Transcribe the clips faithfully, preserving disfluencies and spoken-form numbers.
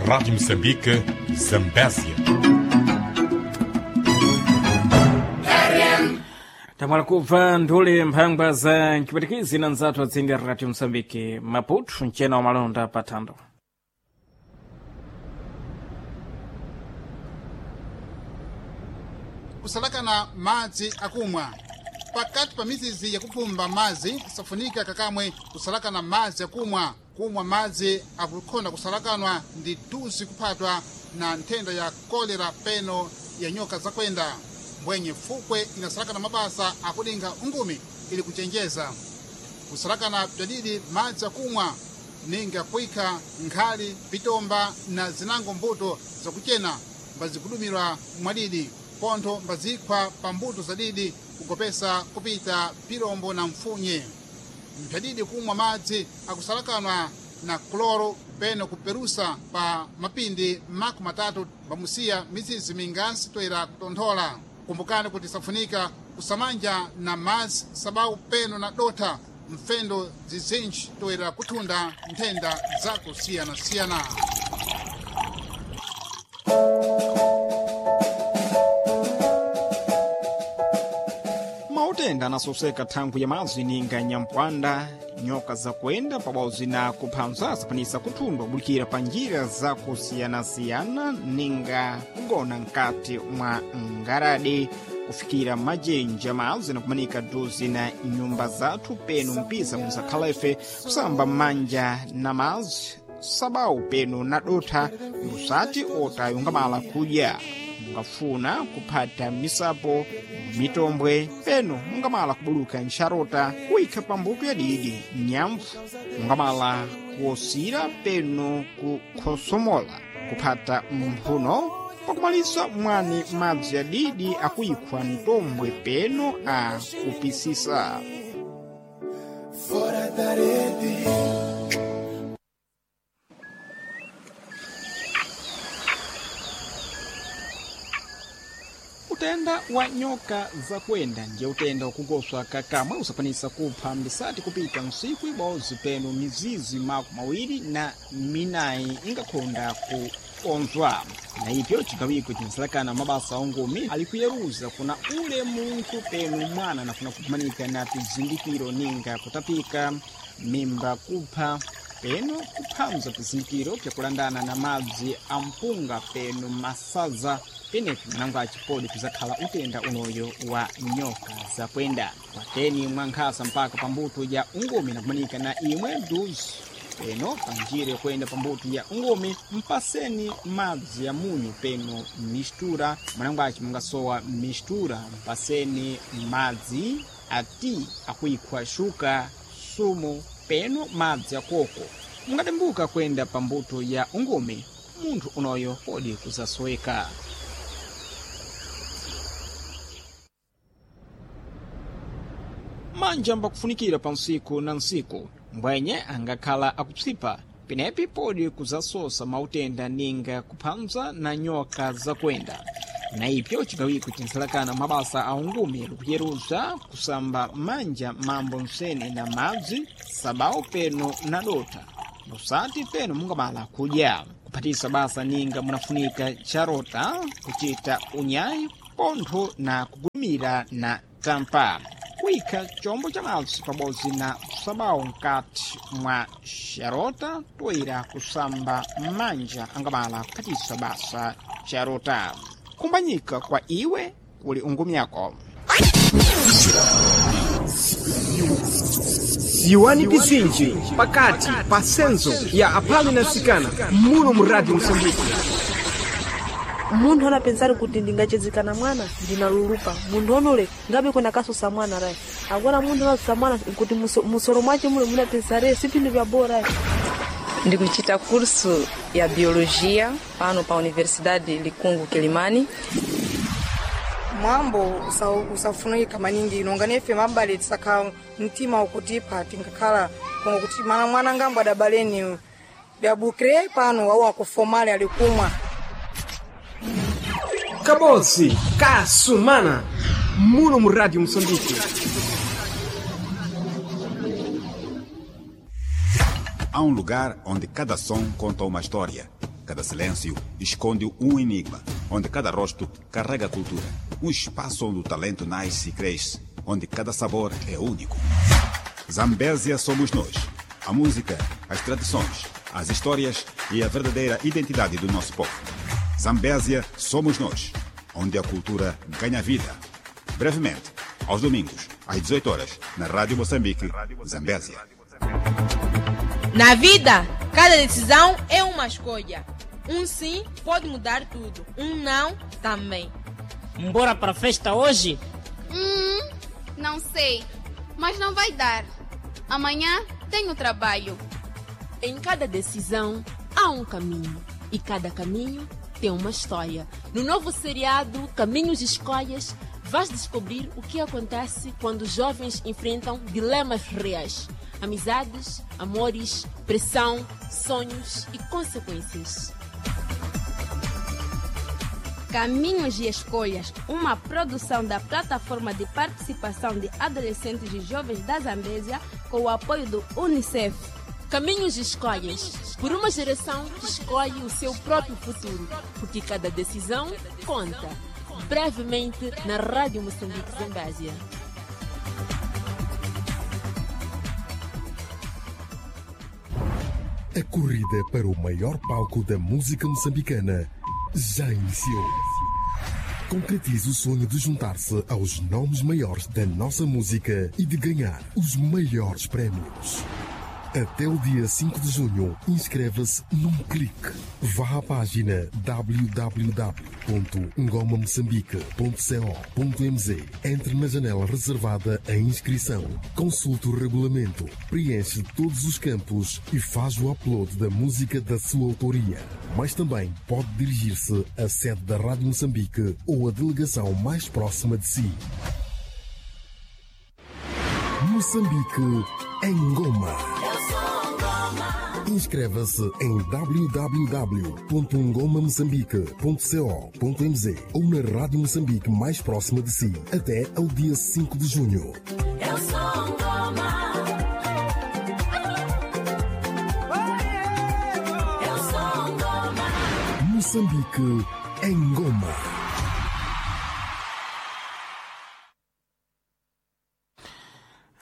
Rádio Moçambique, Zambésia. Tamwala kubva nthule mphangwa za mcipwetikizi na nzathu atsindi a Radio Moçambique Maputo, mcena wa malonda pa thando. Kusalakana madzi akumwa pakati pa mizizi yakupumba madzi safunika kakamwe kusalakana madzi akumwa. Kumwa madzi akukhonda kusalakanwa ndi tuzi kuphatwa na nthenda ya kolera peno ya nyoka zakwenda. Mbwenye fukwe inasalakana mabasa akulinga ungumi ili kuchenjeza kusalakana bzadidi madzi akumwa ninga kuikha nkhali, pitomba na zinango mbuto zakuchena mbazikudumirwa mwadidi pontho mbazikhwa pa mbuto zadidi kugopesa kupita pilombo na mfunye. Mphadidi kumwa madzi akusalakanwa na kloro peno kuperusa pa mapindi makumi matatu mbamusiya mizizi mingasi toera kutonthola. Kumbukani kuti safunika kusamanja na madzi sababu peno na dotha mfendo zizinji toera kuthunda nthenda zakusiyanasiyana. Mautenda anasoseka thangwi ya madzi ninga nyampwanda, nyoka zakuenda pabodzi na kuphanza asapanisa kuthundwa bulikira pa njira zakusiyanasiyana ninga kugona nkati mwa ngaradi, kufikira majenja madzi na kumanika duzi na nyumba zathu peno mpisa muzakhala ife kusamba manja na madzi sabau peno na dotha musati otayungamala kudya. Mungafuna kuphata misapo, mitombwe peno mungamala kubuluka nxarota kuyikha pambuto ya didi nyamvu mungamala kuosira peno kukhosomola kuphata mphuno. Pakumalisa mwani madzi ya didi akuyikhwa mtombwe peno a kupisisa. Fora da rede. Utenda wa nyoka zakwenda ndiye utenda wakugoswa kakamwe usapanisa kupha mbisati kupita nsiku ibodzi peno mizizi makumi awiri na minayi ingakhonda kukonzwa. Na ipyo chigawiko chinsalakana mabasa ongumi ali kuyeruza kuna ule munthu peno mwana anafuna kukumanika na pizindikiro ninga kutapika, mimba kupha peno kuphamza pizindikiro pyakulandana na madzi a mpunga peno masaza. Penepo mwanangu achipodi kuzakhala utenda unoyo wa nyoka zakwenda kwateni mwankhasa mpaka pambuto ya ungumi nakumanika na imwe duzi peno panjira yokwenda pambuto ya ungumi mpaseni madzi ya munyu peno mistura. Mwanangu achi mungasowa mistura mpaseni madzi ati akuikhwa shuka sumu peno madzi akoko. Mungatembuka kwenda pambuto ya ungumi munthu unoyo podi kuzasoweka. Manja mbakufunikira pa nsiku na nsiku mbwenye angakhala akupsipa penepi podi kuzasosa mautenda ninga kuphanza na nyoka zakwenda. Na ipyo chigawiko chinsalakana mabasa a ungumi likuyeruza kusamba manja mambo msene na madzi sabau peno na dota musati peno mungamala kudya kuphatisa basa ninga munafunika charota kuchita unyayi pontho na kugumira na tampa kuyikha chombo cha madzi pabodzi na sabau nkati mwa xarota toyera kusamba manja angamala kuphatisa basa charota. Kumbanyika kwa iwe kuli ungumyako. Ziwani pizinji pakati pa senzo ya aphale na nsikana muno mu Radio Moçambique. Munthu anapensari kuti ndingachezekana mwana ndinalulupa munthu onole ngabe kwena kasusa mwana rayi agora munthu anasusa mwana kuti musoro mwace mule munapensare si pinthu vya bora rayi. Ndikuchita curso ya biologia pano pa Universidade Likungu Kilimani. Mwambo usafunika maningi nonga nefe mabale tisakha mtima ukutipa tinkakhala kongo kuti mana mwana ngambo adabaleni byabukire pano au akufomale alikumwa. Kabodzi kasumana muno mu Radio Moçambique. Há um lugar onde cada som conta uma história. cada silêncio esconde um enigma, onde cada rosto carrega cultura. Um espaço onde o talento nasce e cresce, onde cada sabor é único. Zambésia somos nós. A música, as tradições, as histórias e a verdadeira identidade do nosso povo. Zambésia somos nós, onde a cultura ganha vida. Brevemente, aos domingos, às dezoito horas, na Rádio Moçambique, Zambésia. Na vida, cada decisão é uma escolha. Um sim pode mudar tudo, um não também. Bora para a festa hoje? Hum, não sei, mas não vai dar. Amanhã tenho trabalho. Em cada decisão há um caminho e cada caminho tem uma história. No novo seriado Caminhos e Escolhas, vais descobrir o que acontece quando jovens enfrentam dilemas reais. Amizades, amores, pressão, sonhos e consequências. Caminhos e Escolhas, uma produção da Plataforma de Participação de Adolescentes e Jovens da Zambésia, com o apoio do Unicef. Caminhos e Escolhas, por uma geração que escolhe o seu próprio futuro, porque cada decisão conta. Brevemente na Rádio Moçambique Zambésia. A corrida para o maior palco da música moçambicana já iniciou. Concretize o sonho de juntar-se aos nomes maiores da nossa música e de ganhar os maiores prémios. Até o dia cinco de junho, inscreva-se num clique. Vá à página w w w ponto ngoma moçambique ponto co ponto m z. Entre na janela reservada à inscrição. Consulte o regulamento, preenche todos os campos e faz o upload da música da sua autoria. Mas também pode dirigir-se à sede da Rádio Moçambique ou à delegação mais próxima de si. Moçambique em Goma. Inscreva-se em w w w ponto ngoma moçambique ponto co ponto m z ou na Rádio Moçambique mais próxima de si até ao dia cinco de junho. Eu sou Ngoma. Eu sou Ngoma. Moçambique em Goma.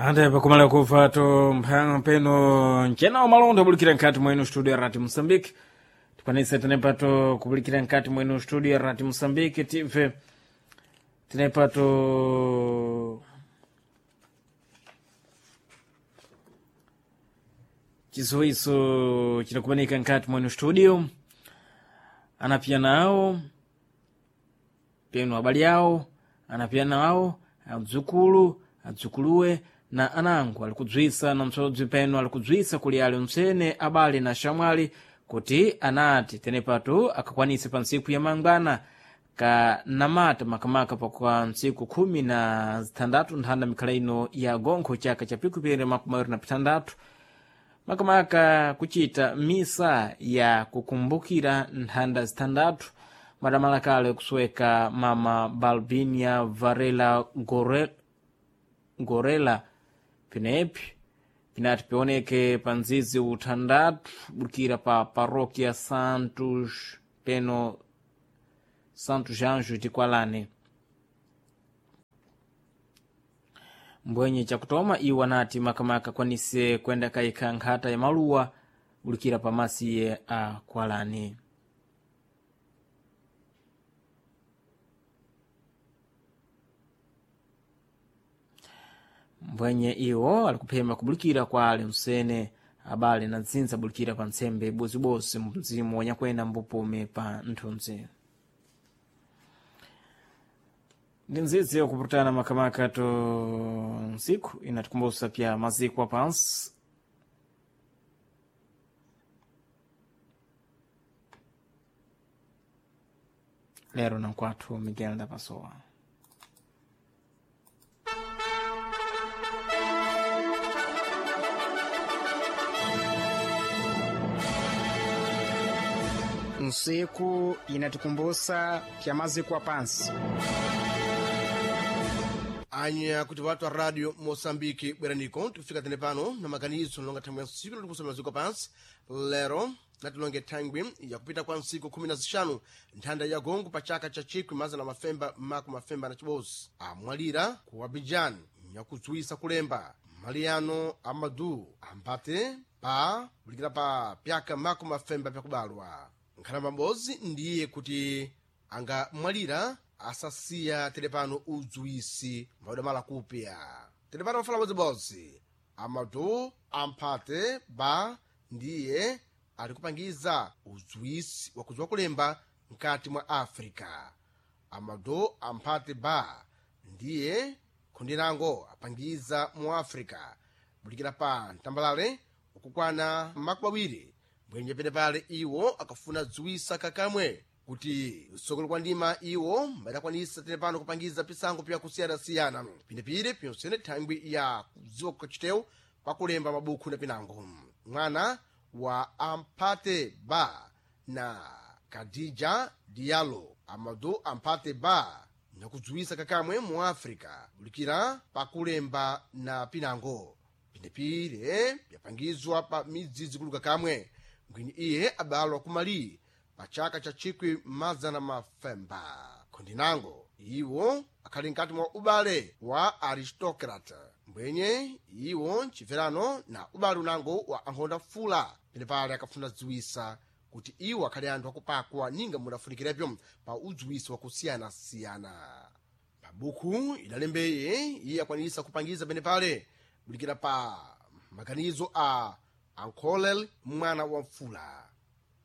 Ande pakumala kufato mpeno ncena umalonda kubulikira nkati mwenu studio ya Radio Moçambique. Tikwanise tenepato kubulikira nkati mwenu studio ya Radio Moçambique tive tenepato chizoiso chinakubanika nkati mwenu studio anapia nawo penu abali awo anapia nawo adzukulu adzukuluwe na anango alikudzwisa na msodzi penu alikudzwisa kuli ali msene abale na shamwali kuti anati tenepatu akakwanise pa ntsiku ya mangwana ka namata makamaka pakwa ntsiku khumi na zithandatu nthanda mikhala ino ya gonkho chaka cha pikupiri makumi awiri na pithandatu makamaka kuchita misa ya kukumbukira nthanda zithandatu madamalakale kusweka mama Balbinia Varela Gore, Gorela pinepi pinati pioneke pa nzizi uthandatu budikira pa paróquia Santos peno Santos Anjos de Kwalane. Mbwenye chakutoma iwo anati makamaka akwanise kwenda kayikha nkhata ya maluwa bulikira pa masiye a Kwalane. Mbwenye iwo alikuphema kubulikira kwa ale msene abale na ntsintsa bulikira pa ntsembe bozibozi mzimu wanyakwenda mbupume pa nthunzi. Ndi ndzidzi yakupurutana makamaka to ntsiku inatikumbusa pya maziko apansi lero na nkwathu Miguel da Pessoa. Nsiku inatikumbusa pya maziko apansi. Anya kuti watu wa radio Moçambique bweraniko tikufika tene pano na maganizo longa thangwi ya ntsiku latikusoma maziko pansi lero Natilonge thangwi yakupita kwa ntsiku khumi na zixanu nthanda ya gongo pa chaka cha chikwi mazana mafemba maku mafemba na chibozi amwalira ku Abidjan nyakudziwisa kulemba Mariano Amadou Ampate pa kulikira pa pyaka maku mafemba pyakubalwa. Nkhalamba m'bodzi ndiye kuti angamwalira asasiya telepano udziwisi mbadamala kupya telepano mafala bodzibodzi. Amadou Ampate Ba ndiye ali kupangiza udziwisi wakudziwa kulemba mkati mwa Africa. Amadou Ampate Ba ndiye khundirango apangiza mu Africa bulikira pa ntambalale ukukwana makumi awiri bwenje penepale iwo akafuna dziwisa kakamwe kuti usokolo kwa ndima iwo mbadakwanisa telepano kupangiza pisango pyakusiyanasiyana pinepire pyonsene thangwi ya kudziwa kukachitewu pakulemba mabukhu na pinango. Mwana wa Ampate Ba na Kadija Diallo, Amadou Ampate Ba nyakudziwisa kakamwe mu Africa bulikira pakulemba na pinango pinepire byapangizwa pa midzidzi kuluka kamwe ngwini iye abalwa ku Mali pa chaka cha chikwi mazana mafemba. Khondinango iwo akhali mkati mwa ubale wa aristocrat mbwenye iwo nchibverano na ubale unango wa ankhonda fula penepale akafuna dziwisa kuti iwo akhali anthu akupakwa ninga mudafunikirepyo pa udziwisi wakusiyanasiyana. Pabukhu idalembeye iye akwanisa kupangiza penepale bulikira pa maganizo a ankholel mwana wa mfula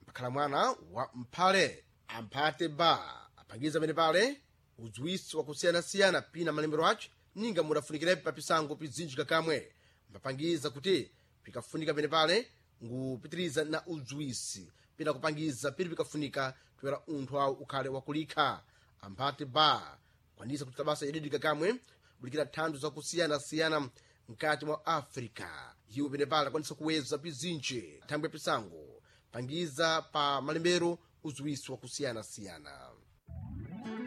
mpakhala mwana wa mphale. Ampate Ba apangiza penepale udziwisi wakusiyanasiyana pina malembero ace ninga mudafunikirepo pa pisango pizinji kakamwe mbapangiza kuti pikafunika penepale ngupitiriza na udziwisi pina kupangiza pili pikafunika toera unthu awo ukhale wakulikha. Ampate Ba kwanisa kuchita basa yadidika kamwe bulikira thando zakusiyanasiyana mkati mwa Africa. Iwo penepale akwanisa kuweza pizinji thangwi ya pisango pangiza pa malembero udziwisi wakusiyanasiyana.